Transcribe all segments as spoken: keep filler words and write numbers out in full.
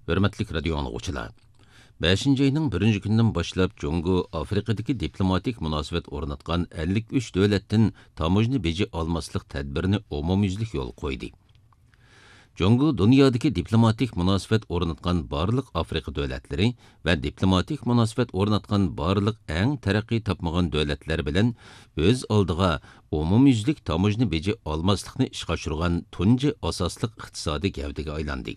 ھۆرمەتلىك رادىيو ئاڭلىغۇچىلار! بەشىنچى ئاينىڭ بىرىنچى كۈنىدىن باشلاپ جۇڭگو ئافرىقىدىكى دىپلوماتىك مۇناسىۋەت ئورناتقان ئەللىك ئۈچ دۆلەتتىن تاموژنا بېجى ئالماسلىق تەدبىرىنى ئومۇميۈزلۈك يولغا قويدى. جۇڭگو دۇنيادىكى دىپلوماتىك مۇناسىۋەت ئورناتقان بارلىق ئافرىقا دۆلەتلىرى ۋە دىپلوماتىك مۇناسىۋەت ئورناتقان بارلىق ئەڭ تەرەققىي تاپمىغان دۆلەتلەر بىلەن ئۆز ئالدىغا ئومۇميۈزلۈك تاموژنا بېجى ئالماسلىقنى ئىشقا ئاشۇرغان تۇنجى ئاساسلىق ئىقتىسادىي گەۋدىگە ئايلاندى.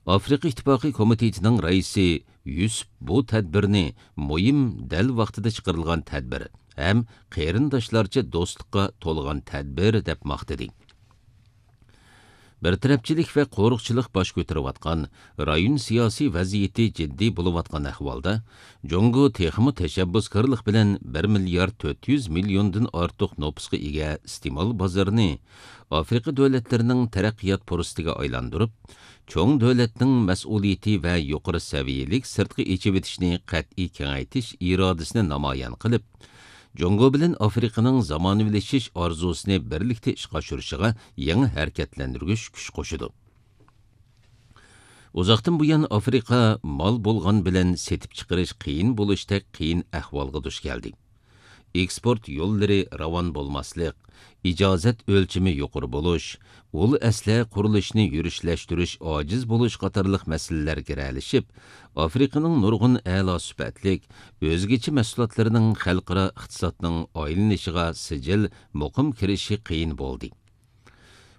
ئافرىقا ئىتتىپاقى كومىتېتىنىڭ رەئىسى يۈسۈپ بۇ تەدبىرنى مۇھىم، دەل ۋاقتىدا چىقىرىلغان تەدبىر ھەم قېرىنداشلارچە دوستلۇققا تولغان تەدبىر دەپ ماختىدى. بىر تەرەپچىلىك ۋە قورۇقچىلىق باش كۆتۈرۈۋاتقان، رايون سىياسىي ۋەزىيىتى جىددىي بولۇۋاتقان ئەھۋالدا، جۇڭگو تېخىمۇ تەشەببۇسكارلىق بىلەن بىر مىليارد تۆت يۈز مىليوندىن ئارتۇق نوپۇسقا ئىگە ئىستېمال بازىرىنى ئافرىقا دۆلەتلىرىنىڭ تەرەققىيات پۇرسىتىگە ئايلاندۇرۇپ، چوڭ دۆلەتنىڭ مەسئۇلىيىتى ۋە يۇقىرى سەۋىيەلىك سىرتقا ئېچىۋېتىشنى قەتئىي كېڭەيتىش ئىرادىسىنى نامايان قىلىپ، جۇڭگو بىلەن ئافرىقىنىڭ زامانىۋىلىشىش ئارزۇسىنى بىرلىكتە ئىشقا ئاشۇرۇشىغا يېڭى ھەرىكەتلەندۈرگۈچ كۈچ قوشىدۇ. ئۇزاقتىن بۇيان ئافرىقا مال بولغان بىلەن سېتىپ چىقىرىش قىيىن بولۇشتەك قىيىن ئەھۋالغا دۇچ كەلدى. ئېكسپورت يوللىرى راۋان بولماسلىق، ئىجازەت ئۆلچىمى يۇقىرى بولۇش، ئۇل ئەسلىھە قۇرۇلۇشىنى يۈرۈشلەشتۈرۈش ئاجىز بولۇش قاتارلىق مەسىلىلەر گىرەلىشىپ، ئافرىقىنىڭ نۇرغۇن ئەلا سۈپەتلىك، ئۆزگىچە مەھسۇلاتلىرىنىڭ خەلقئارا ئىقتىسادنىڭ ئايلىنىشىغا سىجىل، مۇقىم كىرىشى قىيىن بولدى.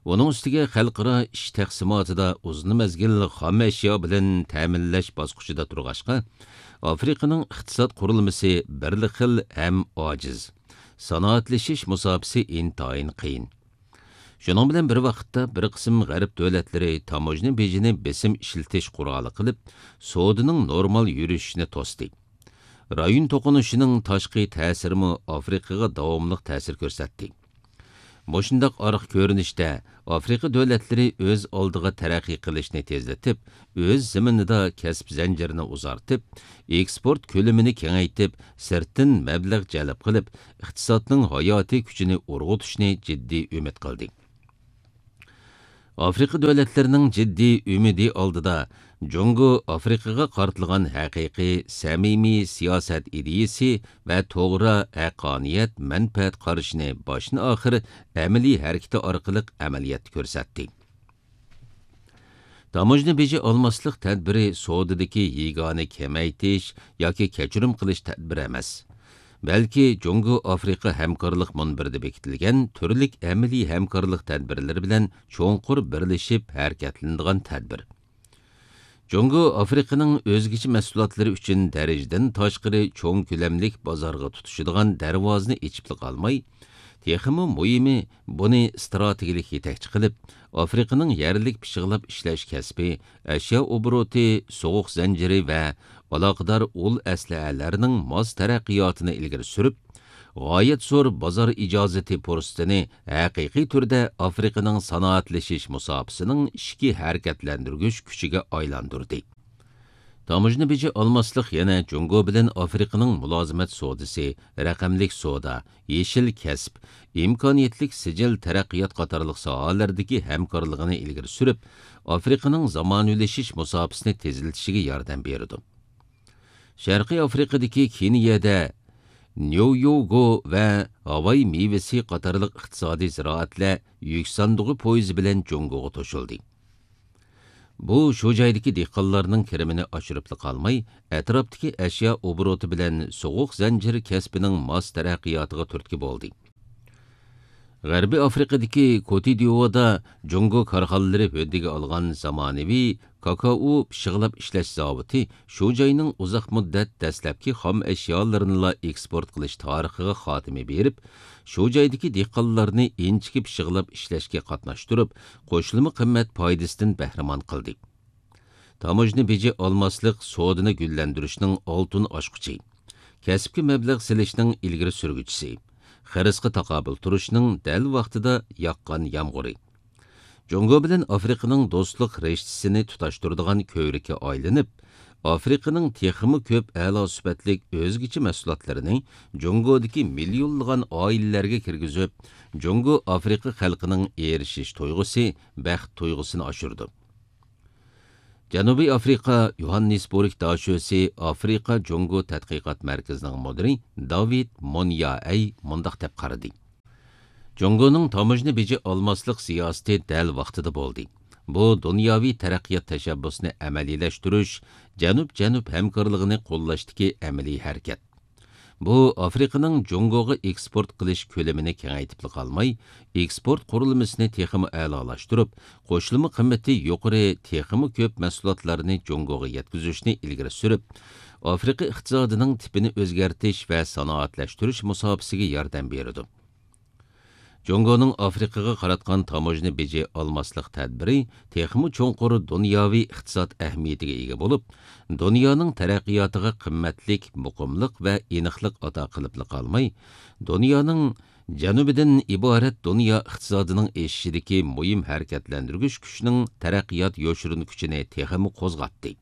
ئۇنىڭ ئۈستىگە خەلقئارا ئىش تەقسىماتىدا ئۇزۇن مەزگىل خام ئەشيا بىلەن تەمىنلەش باسقۇچىدا تۇرغاچقا، ئافرىقىنىڭ ئىقتىساد قۇرۇلمىسى بىرلا خىل ھەم ئاجىز. سانائەتلىشىش مۇساپىسى ئىنتايىن قىيىن. شۇنىڭ بىلەن بىر ۋاقىتتا، بىر قىسىم غەرب دۆلەتلىرى تاموژنا بېجىنى بېسىم ئىشلىتىش قورالى قىلىپ، سودىنىڭ نورمال يۈرۈشۈشىنى توستى. رايون توقۇنۇشىنىڭ تاشقى تەسىرىمۇ ئافرىقىغا داۋاملىق تەسىر كۆرسەتتى. مۇشۇنداق ئارقا كۆرۈنۈشتە، ئافرىقا دۆلەتلىرى ئۆز ئالدىغا تەرەققىي قىلىشنى تېزلىتىپ، ئۆز زېمىنىدا كەسىپ زەنجىرىنى ئۇزارتىپ، ئېكسپورت كۆلىمىنى كېڭەيتىپ، سىرتتىن مەبلەغ جەلپ قىلىپ، ئىقتىسادنىڭ ھاياتىي كۈچىنى ئۇرغۇتۇشنى جىددىي ئۈمىد قىلدى. ئافرىقا دۆلەتلىرىنىڭ جىددىي ئۈمىدى ئالدىدا، جۇڭگو ئافرىقىغا قارىتىلغان ھەقىقىي، سەمىمىي سىياسەت ئىدىيىسى ۋە توغرا، ھەققانىيەت، مەنپەئەت قارىشىنى باشتىن ئاخىر ئەمەلىي ھەرىكىتى ئارقىلىق ئەمەلىيەتتە كۆرسەتتى. تاموژنا بېجى ئالماسلىق تەدبىرى سودىدىكى يېگانە كېمەيتىش ياكى كەچۈرۈم قىلىش تەدبىرى ئەمەس، بەلكى جۇڭگو ئافرىقا ھەمكارلىق مۇنبىرىدە بېكىتىلگەن تۈرلۈك ئەمەلىي ھەمكارلىق تەدبىرلىرى بىلەن چوڭقۇر بىرلىشىپ ھەرىكەتلىنىدىغان تەدبىر. جۇڭگو ئافرىقىنىڭ ئۆزگىچە مەھسۇلاتلىرى ئۈچۈن دەرىجىدىن تاشقىرى چوڭ كۆلەملىك بازارغا تۇتىشىدىغان دەرۋازىنى ئېچىپلا قالماي، تېخىمۇ مۇھىمى، بۇنى ئىستراتېگىيەلىك يېتەكچى قىلىپ، ئافرىقىنىڭ يەرلىك پىششىقلاپ ئىشلەش كەسپى، ئەشيا ئوبوروتى، سوغۇق زەنجىرى ۋە ئالاقىدار ئۇل ئەسلىھەلەرنىڭ ماس تەرەققىياتىنى ئىلگىرى سۈرۈپ، غايەت زور بازار ئىجازىتى پۇرسىتىنى ھەقىقىي تۈردە ئافرىقىنىڭ سانائەتلىشىش مۇساپىسىنىڭ ئىچكى ھەرىكەتلەندۈرگۈچ كۈچىگە ئايلاندۇردى. تاموژنا بېجى ئالماسلىق يەنە جۇڭگو بىلەن ئافرىقىنىڭ مۇلازىمەت سودىسى، رەقەملىك سودا، يېشىل كەسىپ، ئىمكانىيەتلىك سىجىل تەرەققىيات قاتارلىق ساھەلەردىكى ھەمكارلىقىنى ئىلگىرى سۈرۈپ، ئافرىقىنىڭ زامانىۋىلىشىش مۇساپىسىنى تېزلىتىشىگە ياردەم بېرىدۇ. شەرقىي ئافرىقىدىكى كېنىيەدە نيويوگو ۋە ھاۋاي مېۋىسى قاتارلىق ئىقتىسادىي زىرائەتلەر يۈك ساندۇقى پويىزى بىلەن جۇڭگوغا توشۇلدى. بۇ شۇ جايدىكى دېھقانلارنىڭ كىرىمىنى ئاشۇرۇپلا قالماي، ئەتراپتىكى ئەشيا ئوبوروتى بىلەن سوغۇق زەنجىر كەسپىنىڭ ماس تەرەققىياتىغا تۈرتكە بولدى. غەربىي ئافرىقىدىكى كوتىدىئودا جۇڭگو كارخانىلىرى ھۆددىگە ئالغان زامانىۋى كاكائو پىششىقلاپ ئىشلەش زاۋۇتى شۇ جاينىڭ ئۇزاق مۇددەت دەسلەپكى خام ئەشيالىرىنىلا ئېكسپورت قىلىش تارىخىغا خاتىمە بېرىپ، شۇ جايدىكى دېھقانلارنى ئىنچىكە پىششىقلاپ ئىشلەشكە قاتناشتۇرۇپ، قوشۇلما قىممەت پايدىسىدىن بەھرىمەن قىلدى. تاموژنا بېجى ئالماسلىق سودىنى گۈللەندۈرۈشنىڭ ئالتۇن ئاچقۇچى، كەسىپكە مەبلەغ سېلىشنىڭ ئىلگىرى سۈرگۈچىسى، خىرىسقا تاقابىل تۇرۇشنىڭ دەل ۋاقتىدا ياغقان يامغۇرى. جۇڭگو بىلەن ئافرىقىنىڭ دوستلۇق رىشتىسىنى تۇتاشتۇرىدىغان كۆۋرۈككە ئايلىنىپ، ئافرىقىنىڭ تېخىمۇ كۆپ ئەلا سۈپەتلىك ئۆزگىچە مەھسۇلاتلىرىنى جۇڭگودىكى مىليونلىغان ئائىلىلەرگە كىرگۈزۈپ، جۇڭگو ئافرىقا خەلقىنىڭ ئېرىشىش تۇيغۇسى، بەخت تۇيغۇسىنى ئاشۇرىدۇ. جەنۇبىي ئافرىقا يوھاننېسبورگ داشۆسى ئافرىقا جۇڭگو تەتقىقات مەركىزىنىڭ مۇدىرى داۋىد مونيائەي مۇنداق دەپ قارىدى: جۇڭگونىڭ تاموژنا بېجى ئالماسلىق سىياسىتى دەل ۋاقتىدا بولدى. بۇ دۇنياۋى تەرەققىيات تەشەببۇسىنى ئەمەلىيلەشتۈرۈش، جەنۇب-جەنۇب ھەمكارلىقىنى قوللاشتىكى ئەمەلىي ھەرىكەت. بۇ ئافرىقىنىڭ جۇڭگوغا ئېكسپورت قىلىش كۆلىمىنى كېڭەيتىپلا قالماي، ئېكسپورت قۇرۇلمىسىنى تېخىمۇ ئەلالاشتۇرۇپ، قوشۇلما قىممىتى يۇقىرى، تېخىمۇ كۆپ مەھسۇلاتلارنى جۇڭگوغا يەتكۈزۈشنى ئىلگىرى سۈرۈپ، ئافرىقا ئىقتىسادىنىڭ تىپىنى ئۆزگەرتىش ۋە سانائەتلەشتۈرۈش مۇساپىسىگە ياردەم بېرىدۇ. جۇڭگونىڭ ئافرىقىغا قاراتقان تاموژنا بېجى ئالماسلىق تەدبىرى تېخىمۇ چوڭقۇر دۇنياۋى ئىقتىساد ئەھمىيىتىگە ئىگە بولۇپ، دۇنيانىڭ تەرەققىياتىغا قىممەتلىك، مۇقىملىق ۋە ئېنىقلىق ئاتا قىلىپلا قالماي، دۇنيانىڭ جەنۇبىدىن ئىبارەت دۇنيا ئىقتىسادىنىڭ ئېشىشىدىكى مۇھىم ھەرىكەتلەندۈرگۈچ كۈچنىڭ تەرەققىيات يوشۇرۇن كۈچىنى تېخىمۇ قوزغاتتى.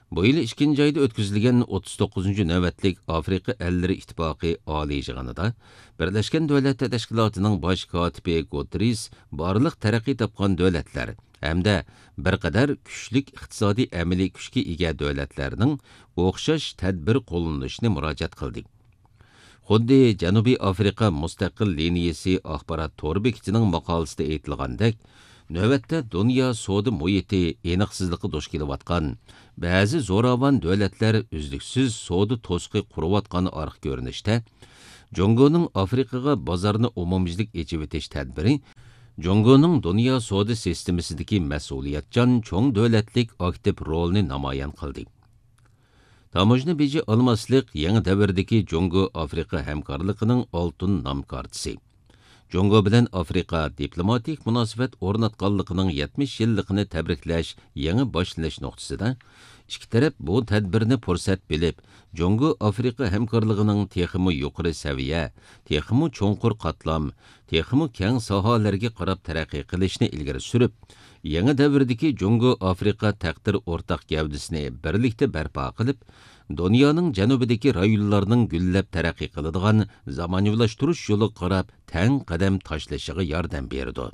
بۇ يىل ئىككىنچى ئايدا ئۆتكۈزۈلگەن ئوتتۇز توققۇزىنچى نۆۋەتلىك ئافرىقا ئەللىرى ئىتتىپاقى ئالىي يىغىنىدا بىرلەشكەن دۆلەتلەر تەشكىلاتىنىڭ باش كاتىپى گۇتېررېس بارلىق تەرەققىي تاپقان دۆلەتلەر ھەمدە بىر قەدەر كۈچلۈك ئىقتىسادىي ئەمەلىي كۈچكە ئىگە دۆلەتلەرنىڭ ئوخشاش تەدبىر قوللىنىشىنى مۇراجىئەت قىلدى. خۇددى جەنۇبىي ئافرىقا مۇستەقىل لىنىيىسى ئاخبارات تور بېكىتىنىڭ ماقالىسىدە ئېيتىلغاندەك، نۆۋەتتە دۇنيا سودا مۇھىتى ئېنىقسىزلىققا دۇچ كېلىۋاتقان، بەزى زوراۋان دۆلەتلەر ئۈزلۈكسىز سودا توسۇقى قۇرۇۋاتقان ئارقا كۆرۈنۈشتە، جۇڭگونىڭ ئافرىقىغا بازارنى ئومۇميۈزلۈك ئېچىۋېتىش تەدبىرى جۇڭگونىڭ دۇنيا سودا سىستېمىسىدىكى مەسئۇلىيەتچان چوڭ دۆلەتلىك ئاكتىپ رولىنى نامايان قىلدى. تاموژنا بېجى ئالماسلىق يېڭى دەۋردىكى جۇڭگو ئافرىقا ھەمكارلىقىنىڭ ئالتۇن نام كارتىسى. جۇڭگو بىلەن ئافرىقا دىپلوماتىك مۇناسىۋەت ئورناتقانلىقىنىڭ يەتمىش يىللىقىنى تەبرىكلەش يېڭى باشلىنىش نۇقتىسىدا، ئىككى تەرەپ بۇ تەدبىرنى پۇرسەت بىلىپ، جۇڭگو ئافرىقا ھەمكارلىقىنىڭ تېخىمۇ يۇقىرى سەۋىيە، تېخىمۇ چوڭقۇر قاتلام، تېخىمۇ كەڭ ساھەلەرگە قاراپ تەرەققىي قىلىشنى ئىلگىرى سۈرۈپ، يېڭى دەۋردىكى جۇڭگو ئافرىقا تەقدىر ئورتاق گەۋدىسىنى بىرلىكتە بەرپا قىلىپ، دۇنيانىڭ جەنۇبىدىكى رايونلارنىڭ گۈللەپ تەرەققىي قىلىدىغان زامانىۋىلاشتۇرۇش يولىغا قاراپ تەڭ قەدەم تاشلىشىغا ياردەم بېرىدۇ.